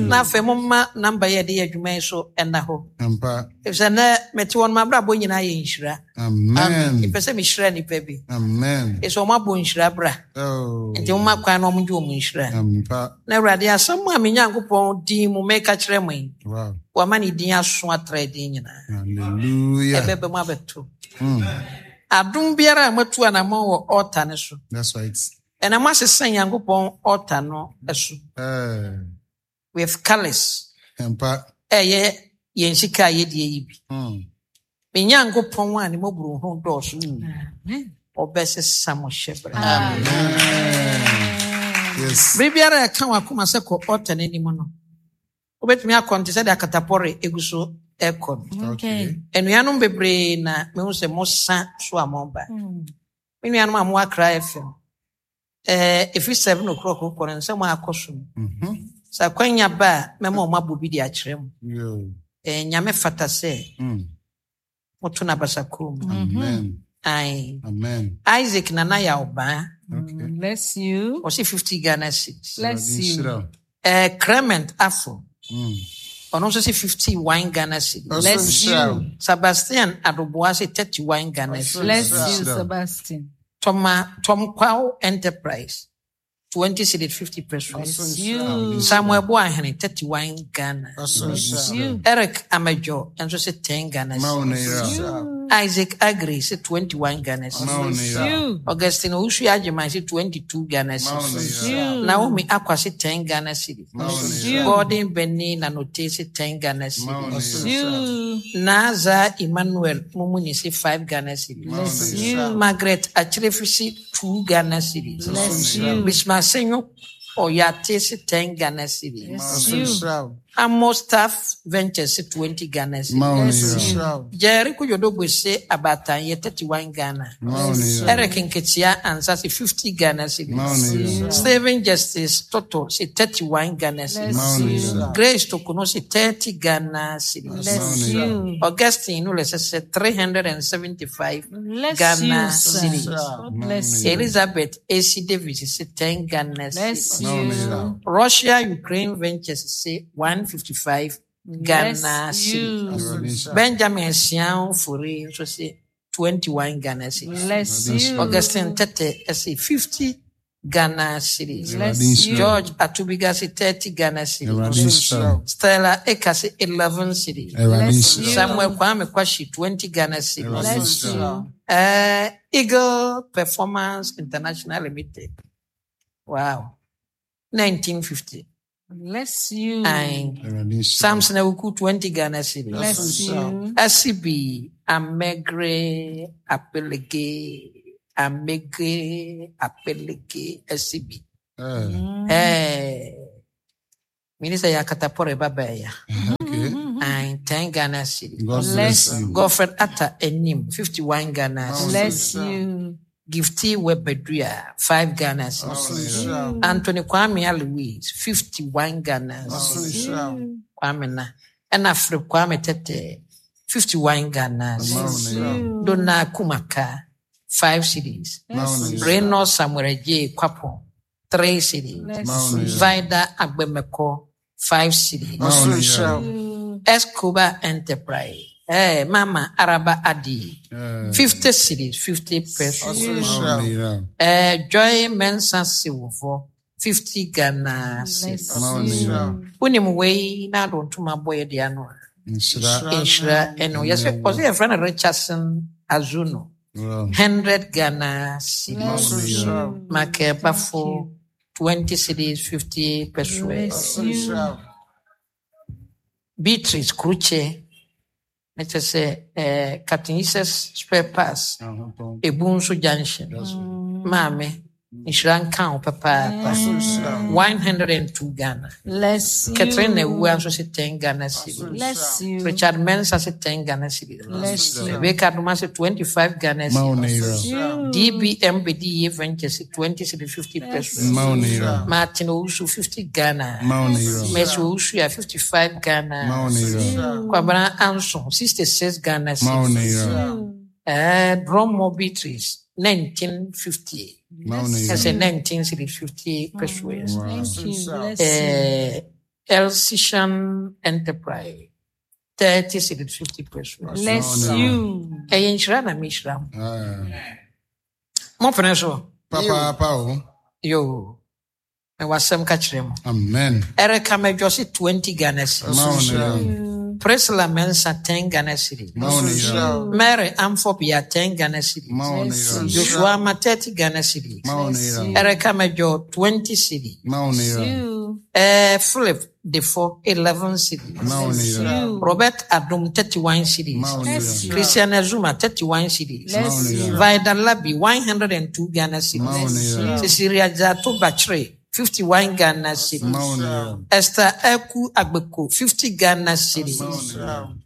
Na afei momma namba yi a yɛde yɛ adwuma yi so nna hɔ. Efisɛ nnɛ mete hɔ no, m'abrabɔ nyinaa yɛ nhyira. Mepɛ sɛ mehyira nnipa bi. Efisɛ wɔabɔ nhyira bra. Oh. Nti momma kwan na wɔngye wɔn nhyira. Na Awurade asɛm a me Nyankopɔn din mu meka kyerɛ mo yi, wama ne din aso atra din nyinaa. Ɛbɛba mu abɛto. Hmm. Adom biara a moatu anammɔn wɔ ɔɔta no so. That's right. Ɛna moasesa Nyankopɔn altar no so with colours ɛyɛ yɛn sika a yɛdie yi bi. Hmm. Me Nyankopɔn a ne mmɔborɔhunu dɔɔso ɔbɛsesa mo hyɛbrɛ. Bere biara a ɛka w'akoma sɛ kɔ altar no anim no, wobɛtumi akɔ nte sɛ de akatapɔre egu so ɛkɔ no. Anuanom bebree na mehu sɛ mosa so a moba. Hmm. Me nuanom a mowɔ Accra FM, eh, ɛfiri 7 o'clock kɔ no nsɛm a akɔ so no. Mhm. Sɛ akwanya ba a, mɛma wɔn abɔ bi de akyerɛ mo. Eh, Nyame fata sɛ mm. moto no abasa kurom. Amen. Aye. Amen. Isaac Nana Yaobaa. Okay. Bless you. Ɔsi 50 Ghana cedis. Bless you. Eh, Clement Afo. Ɔno nso se 51 Ghana cedis. Bless you. Sebastian Adoboa se 31 Ghana cedis. Bless you, Sebastian. Toma Tom Kwao Enterprise 20 cedis 50 pesos. Bless you. Samuel Boahene 31 Ghana. Bless you. Eric Amejo nso se 10 Ghana cedis. Isaac Agri se 21 Ghana cedis. Augustine Owusu Agyeman se 22 Ghana cedis. Naomi Akwa se 10 Ghana cedis. Gordon Benny Nanote se 10 Ghana cedis. Naza Emmanuel Mumuni se 5 Ghana cedis. Margaret Achrefi se 2 Ghana cedis. Bismarck Senyo Oyate se 10 Ghana cedis. Amo Staff Ventures se 20 Ghana cedis. Jerry Kujodogbe se abaatan yɛ 31 Ghana. Eric Nketia Ansa se 50 Ghana cedis. Stephen Justice Toto se 31 Ghana cedis. Grace Tokuno se 30 Ghana cedis. Augustine Nulese se 375 Ghana cedis. Elizabeth AC Davis se 10 Ghana cedis. Russia Ukraine Ventures se 155 Ghana cedis. Benjamin Sian Furi nso se 21 Ghana cedis. Bless you. Augustine Tete se 50 Ghana cedis. Bless you. George Atubiga se 30 Ghana cedis. Stella Eka se 11 cedis. Bless you. Samuel Kwame Kwashi 20 Ghana cedis. Bless you. Eagle Performance International Limited. Wow. 1950. Bless you. Aye. Samson Awuku 20 Ghana cedis. Bless you. SCB Amegre Apelege Amegre Apelege SCB. Eh. Minister ya katapore baba ya. Okay. Aye, 10 Ghana cedis. God bless you. Godfred Atta Enim 51 Ghana cedis. Bless you. Gifty Webedua 5 Ghana cedis. Anthony Kwame Alois 51 Ghana cedis. Kwame na. Ɛna Philip Kwame Tete 51 Ghana cedis. Donna Kumaka 5 cedis. Reno Samuel J. Kwapo 3 cedis. Vida Agbemeko 5 cedis. Escobar Enterprise. Eh, Mama Araba Adi 50 cedis 50 pesos. Eh, Joy Mensa Siwofo 50 Ghana cedis. Wonim wei na ado ntoma bɔ yɛ de ano a. Nhyira ɛno. Yɛsɛ ɔsɛ yɛfrɛ no Richardson Azuno. 100 Ghana cedis. Michael Bafo 20 cedis 50 pesos. Beatrice Kruche na kyerɛ sɛ eh, Captain Jesus spare parts Ebunso Junction. Maame nhyira nka wo papaapa. 102 Ghana. Bless you. Catherine Awua nso se 10 Ghana cedis. Bless you. Richard Mensah se 10 Ghana cedis. Bless you. Rebecca Adoma se 25 Ghana cedis. DBM Bediye Venture se 20 cedis 50 pesos. Martin Owusu 50 Ghana. Mercy Owusu ya 55 Ghana. Kwabena Anson 66 Ghana cedis. Eh, Dromo Beatrice 1950. Ɛsɛ 19 cedis 50 pesos. Thank you. Bless you. Eh, Elsician Enterprise, 30 cedis 50 pesos. Bless you. Ɛyɛ nhyira na mehyira mo. Mopene so? Papaapa o. Yo. Mewɔ asɛm ka kyerɛ mo. Amen. Erica Medwo se 20 Ghana cedis. Ma wo ne yera. Priscilla Mensah 10 Ghana cedis. Ma wo ne yera. Mary Amfobia 10 Ghana cedis. Ma wo ne yera. Joshua Ama 30 Ghana cedis. Ma wo ne yera. Erica Medwo 20 cedis. Ma wo ne yera. Philip Defo 11 cedis. Ma wo ne yera. Robert Adum 31 cedis. Ma wo ne yera. Christian Azuma 31 cedis. Ma wo ne yera. Vida Labi 102 Ghana cedis. Ma wo ne yera. Cecilia Jato Bachre 51 Ghana cedis. Ma wo ne yera. Esther Eku Agbeko 50 Ghana cedis.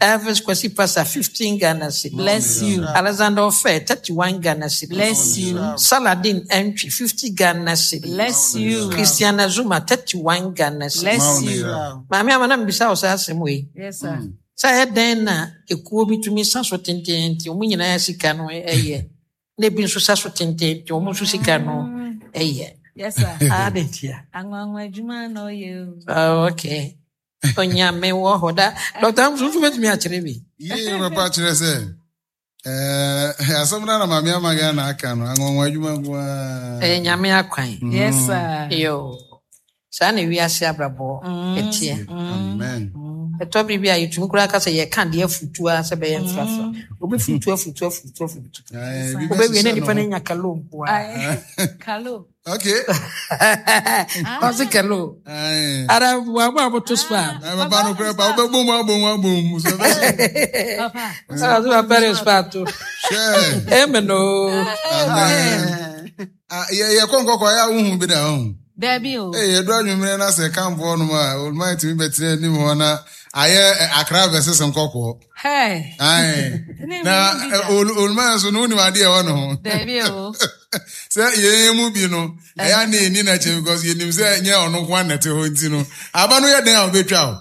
Elvis Kwesi Pasa 15 Ghana cedis. Bless you. Alexander Ofe 31 Ghana cedis. Bless you. Saladin Entry 50 Ghana cedis. Bless you. Christiana Zuma 31 Ghana cedis. Bless you. Maame ama na mbisa wo saa asɛm wei. Yes, sir. Sɛ ɛyɛ dɛn na ekuo bi tumi sa so tententen wɔn nyinaa sika no ɛyɛ na ebi nso sa so tententen wɔn nso sika no ɛyɛ. Yes, sir. Ade ntia. Anwanwa adwuma na ɔyɛ o. Oh, okay. Onyame wɔ hɔ da. Dɔkta nso nso bɛtumi akyerɛ bi. Yie papa kyerɛ sɛ ɛɛ asɛm no na maame ama Ghana aka no anwanwa adwuma nko ara. Ɛyɛ nyame akwan. Yes, sir. Yo. Saa na wiase abrabɔ ɛteɛ. Amen. Ɛtɔ bere bi a yɛtumi koraa ka sɛ yɛka deɛ afutuo a sɛ bɛyɛ mfrafra. Obi futuo afutuo afutuo afutuo. Ɛɛ, bi Wobɛwie na bɛhyehyɛ nipa no ne ho. anya kalo nko a. Aye. Kalo. Okay. Ɔse kalo. Aye. Ara wɔabɔ a wɔto spa. Aye, papa no kura pa wobɛbɔ mu abɔ mu abɔ mu. So bɛhyɛ. Papa. Ɔse papa spa to. Hwɛ. Amen o. Amen. Ah, yɛ yɛkɔ nkɔkɔ yɛ a wohu bi da ho. Dabi o. Ee, yɛdu anwummerɛ na sɛ kamfoɔ nom a oluma tumi bɛtena anim hɔ na ayɛ akra versus nkɔkɔɔ. Hey. Aye. Na oluma nso no wonim adeɛ ɛwɔ ne ho. Dabi o. Sɛ yɛn mu bi no, ɛyɛ a na yɛnni n'akyi because yɛnim sɛ nyɛ ɔno nko ara na ɛte hɔ nti no, aba no yɛ dɛn a ɔbɛtwa o.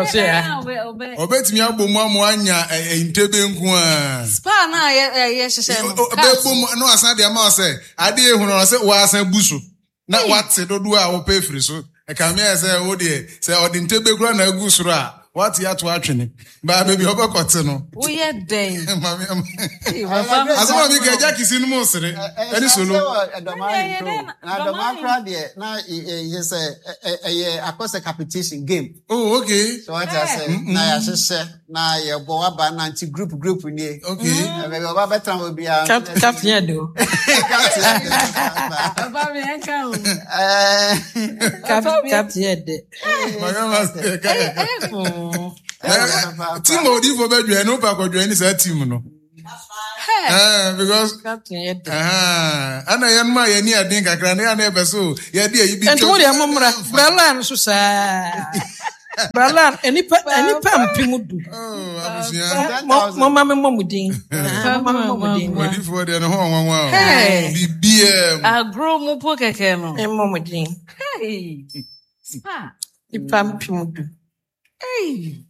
Ɔse ya. Ɔbɛtumi abɔ mu ama anya ntebe nko ara. Spa na yɛ hyehyɛ no. Ɔbɛbɔ mu na wasan de ama wo sɛ adeɛ ehunu no sɛ wasan bu so na wate dodoɔ a wɔpɛ afiri so. Ɛkame ayɛ sɛ wo deɛ sɛ ɔde ntebe kura na agu soro a wate ato atwene. Baa baabi a ɔbɛkɔte no. Woyɛ dɛn? Maame ama. Asɛm a meka agya kisi no mu sere ɛne solo. Na dɔmaa kora deɛ na yɛ sɛ ɛyɛ akɔsɛ competition game. Oh, okay. So wate ase na yɛahyehyɛ na yɛbɔ waba na nti group group nie. Okay. Baabi ɔba bɛtena hɔ biara. Captain yɛ de o. Papa mi ɛnka o. Captain yɛ de. Maame ama. Team a odiifo bɛdwɛn no wopɛ akɔdwɛn ne saa team no. Because Captain yɛ de. Ana yɛn mu a yɛn ni ɛden kakra na yɛn na yɛpɛ so yɛde ayi bi. Nti mo deɛ mo mmra Brala nso saa. Brala nipa 10,000. Oh, abusua. Mo ma me mmɔ mo din. Mo ma me mmɔ mo din. Odiifoɔ deɛ ne ho ɔnwanwa o. Hey. Biribiara mu. Agorɔ mu po kɛkɛ no. Mmɔ mo din. Hey. Spa. Nipa 10,000. Hey.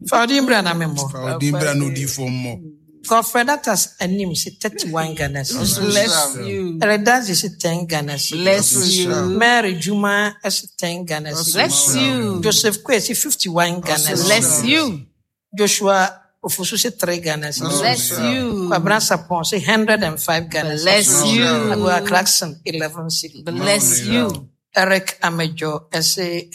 Fa ɔdin bra na me mmɔ. Fa ɔdin bra na odiifoɔ mmɔ. Godfred Atas anim si 31 Ghana cedis. Bless you. Eredazi si 10 Ghana cedis. Bless you. Mary Juma si 10 Ghana cedis. Bless you. Joseph Kwe si 51 Ghana cedis. Bless you. Joshua Ofosu si 3 Ghana cedis. Bless you. Kwabena Sapon si 105 Ghana cedis. Bless you. Agua Clarkson 11 cedis. Bless you. Eric Amejo si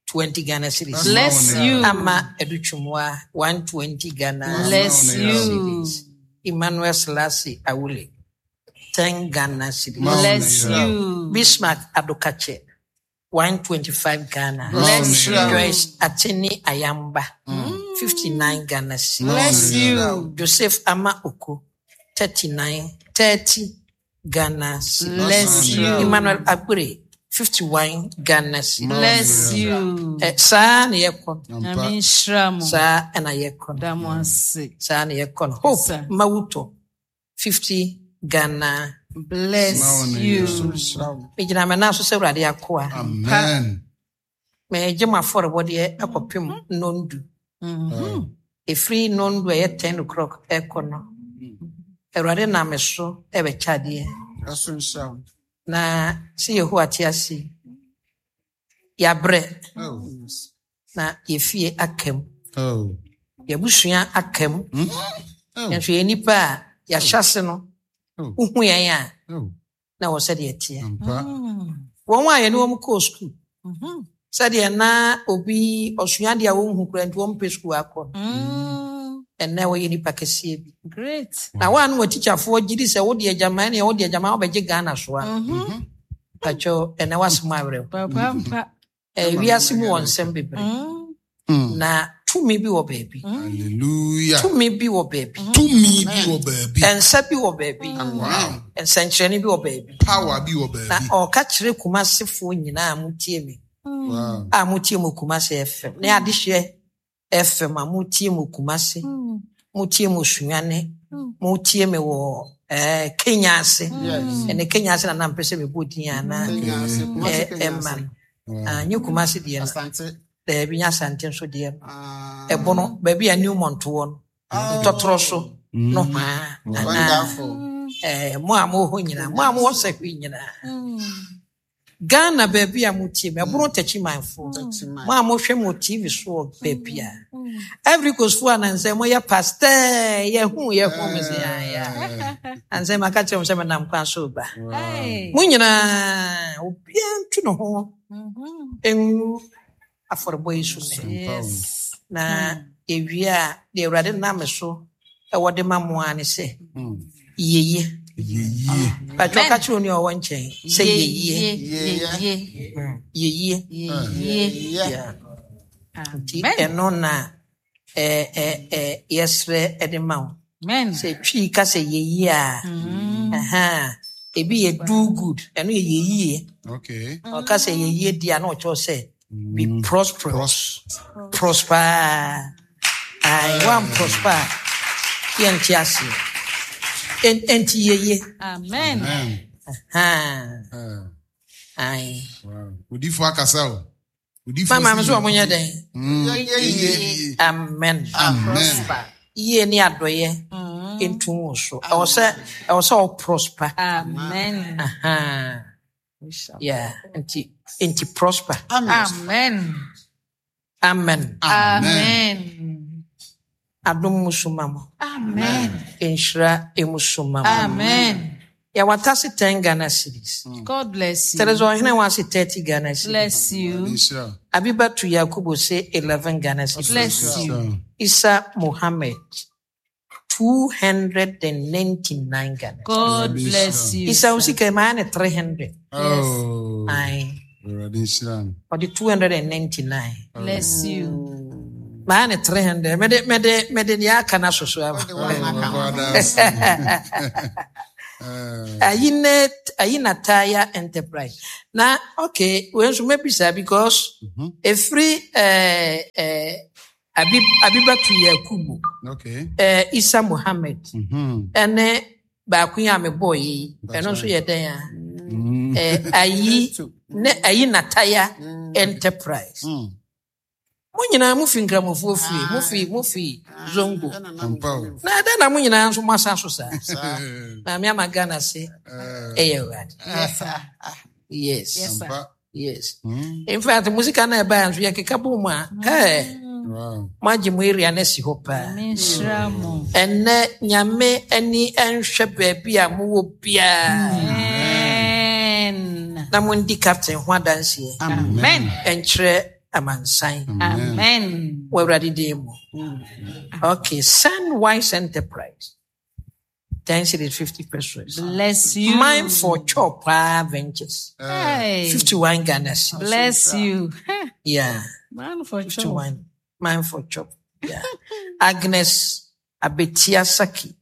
20 Ghana cedis. Bless you. Ama Educhumwa 120 Ghana Bless you. cedis. Emmanuel Selassie Awule 10 Ghana cedis. Bless you. Bismarck Adokache 125 Ghana. Bless you. Joyce Ateni Ayamba 59 Ghana cedis. Bless you. Joseph Ama Oko 39 30 Ghana cedis. Bless you. Emmanuel Agure 51 Ghana cedis. Bless you. Saa na yɛkɔ no. Nyame nhyira mo. Saa na yɛkɔ no. Da mo ase. Saa na yɛkɔ no. Hope Sir. Mawuto 50 Ghana. Bless you. Megyina me nan so sɛ Awurade akoa. Amen. Megye mo afɔrebɔdeɛ akɔpem nnɔndu. Ɛfiri nnɔndu a ɛyɛ 10 o'clock ɛkɔ no. Awurade nam me so ɛbɛkyɛ adeɛ. Na sɛ Yehowa te ase yi, Yɛabrɛ Oh. na yɛfie aka mu. Oh. Yɛabusua aka mu. Oh. Nanso yɛn nnipa a yɛahyɛ ase no, Oh. wohu yɛn a Oh. na wɔ sɛdeɛ ɛteɛ. Ampa. Wɔn a yɛne wɔn kɔɔ sukuu, sɛdeɛ na obi ɔsua adeɛ a wɔnhu koraa nti wɔmpɛ sukuu akɔ no, ɛnnɛ wɔyɛ nnipa kɛseɛ bi. Great. Na wɔn a na wɔn tikyafoɔ gye di sɛ wode agyaman ne wode agyaman wobɛgye Ghana so a, pakyɛw ɛnnɛ w'asɛm awerɛw. Papa mpa. Wiase mu wɔ nsɛm bebree. Na tumi bi wɔ baabi. Hallelujah. Tumi bi wɔ baabi. Tumi bi wɔ baabi. Nsa bi wɔ baabi. Wow. Nsɛnkyerɛnne bi wɔ baabi. Power bi wɔ Na baabi. ɔka kyerɛ Kumasefoɔ nyinaa a motie me, Wow. a motie mo Kumase FM, ne adehyeɛ FM a motie mo Kumase, motie mo Sunyane, motie me wɔ Kenya ase. Yes. Ɛnɛ Kenya ase na na mpɛ sɛ mebɔ din anaa Kenya ase, Kumasi Kenya ɛma ase. no. Ah, nye Kumase deɛ no. Asante. Daabi, nye Asante nso deɛ no. Ah. Ɛbono, baabi a Newmont wɔ no, ntɔtorɔ so no hwaa. Anaa, Wonderful. mo a mowɔ hɔ nyinaa, mo a mowɔ sahwi nyinaa. Ghana baabi a motie me, ɛbono Takyimanfoɔ. Takyiman. Mo a mohwɛ mo TV so wɔ baabi a. Ivory Coast foɔ anansɛ moyɛ pasteur, yɛhu yɛhu me sɛ ayɛ. Ansɛ maka kyerɛ mo sɛ menam kwan so ba. Hey. Mo nyinaa, obiara ntu ne ho ngu afɔrebɔ yi so nnɛ. Yes. Na yɛwie a, deɛ Awurade nam me so ɛwɔ de ma mo ara ne sɛ, yɛyie. Yɛyie. Patro ka kyerɛ onua a ɔwɔ nkyɛn sɛ yɛyie. Yɛyie. Yɛyie. Yɛyie. Yeah. Yeah. Nti Amen. ɛno na yɛsrɛ de ma wo. Amen. Sɛ Twi ka sɛ yɛyie a, ɛha, ebi yɛ do good, ɛno yɛ yɛyie. Okay. Ɔka sɛ yɛyie di a na ɔkyerɛ sɛ be prosperous. Prosper. Ayi, wan prosper a, yɛnte aseɛ. Enti yɛyie. Amen. Amen. Ɛha. Ayi. Wow. Odifo akasa o. Odifo Mama, me so ɔmo nyɛ dɛn? Yɛyie. Amen. Amen. Yie ne adɔyɛ ntum wo so. Ɛwɔ sɛ ɔ prosper. Amen. Aha. Yeah. Nti prosper. Amen. Amen. Amen. Adom mu so ma mo. Amen. Nhyira emu so ma mo. Amen. Yɛwɔ atase 10 Ghana cedis. God bless you. Teresa Ɔhene wɔ ase 30 Ghana cedis. Bless you. Nhyira. Abibatu Yakubu se 11 Ghana cedis. Bless you. Isa Mohammed 299 Ghana. God bless you. Isa osika ma ne 300. Oh. Aye. Awurade nhyira no. Ɔde 299. Bless you. Maa ne 300. Mede nea aka na soso ama. Ayi na Taya Enterprise. Na okay, we nso mebisa because efiri Abibatu Yakubu. Okay. Isa Mohammed. Ɛne baako yi a mebɔɔ yi, ɛno nso yɛ dɛn a? Ayi na Taya Enterprise. Mo nyinaa mo fi nkramofoɔ fie, mo fi Zongo. Na ɛdɛn na mo nyinaa nso mo asa so saa? Maame ama Ghana se ɛyɛ Awurade. Yes. Yes. Yes, sir. Yes. In fact, musika na ɛbaa nso yɛkeka bɔ mu a, Wow. mo agye mo area no asi hɔ paa. Menhyira mo. Ɛnnɛ Nyame ani nhwɛ baabi a mowɔ biara. Amen. Na mondi captain ho adanseɛ. Amen. Ɛnkyerɛ amansan. Amen. Wɔ Awurade din mu. Okay, Sunwise Enterprise. 10 cedis 50 pesos. Bless you. Mine for Chop Ventures. Hey. 51 Ghana cedis. Bless you. Yeah. Man for chop. 51. Mine for Chop. Yeah. Agnes Abetia Saki.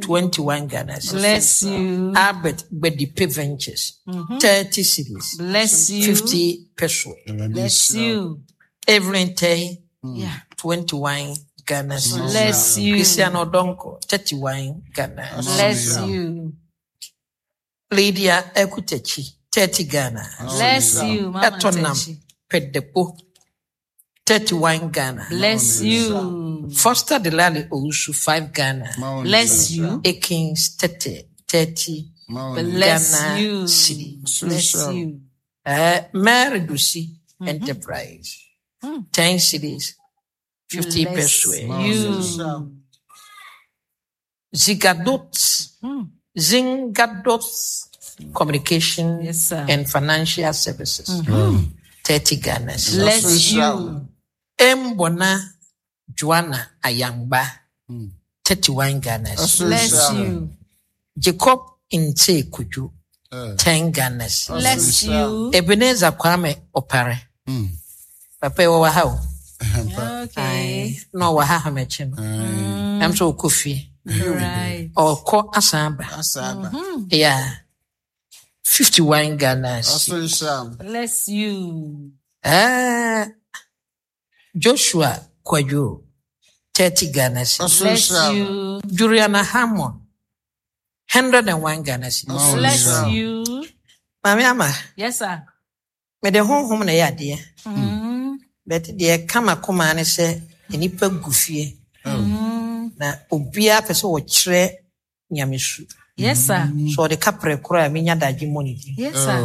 21 Ghana cedis. Bless you. Albert Bedipe Ventures. 30 cedis. Bless you. 50 pesos. Bless you. Evelyn Tay. Yeah. 21 Ghana cedis. Bless you. Christian Odonko, 31 Ghana. Bless you. Lydia Ekutechi, 30 Ghana. Bless you, Mama Etonam Techi. Pedepo, 31 Ghana. Bless you. Foster Delali Owusu, 5 Ghana. Bless you. Akins 30, 30 Bless Ghana you. cedis. Bless you. Mary Dusi, Enterprise. 10 cedis, 50 Bless pesewas. you. Zigadot, Zingadot Communication Yes, sir. and Financial Services. 30 Ghana cedis. Bless you. Mbona Joanna Ayangba, 31 Ghana cedis. Bless you. Jacob Nte Kuju, 10 Ghana cedis. Bless you. Ebenezer Kwame Opare. Papa yi wɔwɔ ha o. Okay. Na ɔwɔ ha hamakyi no. Ɛm sɛ ɔkɔ fie. Right. Ɔkɔ asan aba. Asaba. Yeah. 51 Ghana cedis. Ɔsoro nhyira wo. Bless you. Joshua Kwadwo, 30 Ghana cedis. Ɔsoro Bless nhyira wo. you. Juliana Hammond, 101 Ghana cedis. Bless you. Maame ama, Yes, sir. mede honhom na ɛyɛ adeɛ. But deɛ ɛka m'akoma ne sɛ nnipa gu fie. Na obiara pɛ sɛ wɔkyerɛ nyamesu. Yes, sir. So ɔde kaprɛ koraa a menya dagye mmɔ ne din. Yes, sir.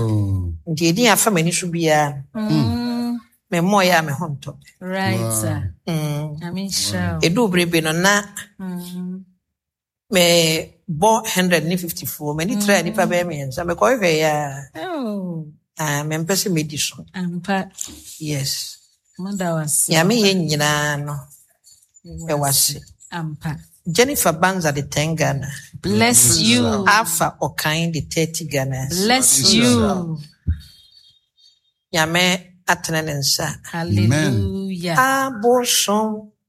Nti ɛdin afa m'ani so biara no, memmɔeɛ a me ho ntɔ. Right, sir. I mean, sure. Ɛduu bere bi no na mebɔ 154 m'ani tra nnipa bɛyɛ mmiɛnsa mekɔhwehwɛeɛ a Oh, ah, mempɛ sɛ mɛdi so. ampa. Yes. Mother was Nyame yɛ nyinaa no ɛwɔ ase. Ampa. Jennifer Banza de 10 Ghana. Bless you. Alpha Okan de 30 Ghana. Bless you. Nyame atene ne nsa. Hallelujah. Abosom.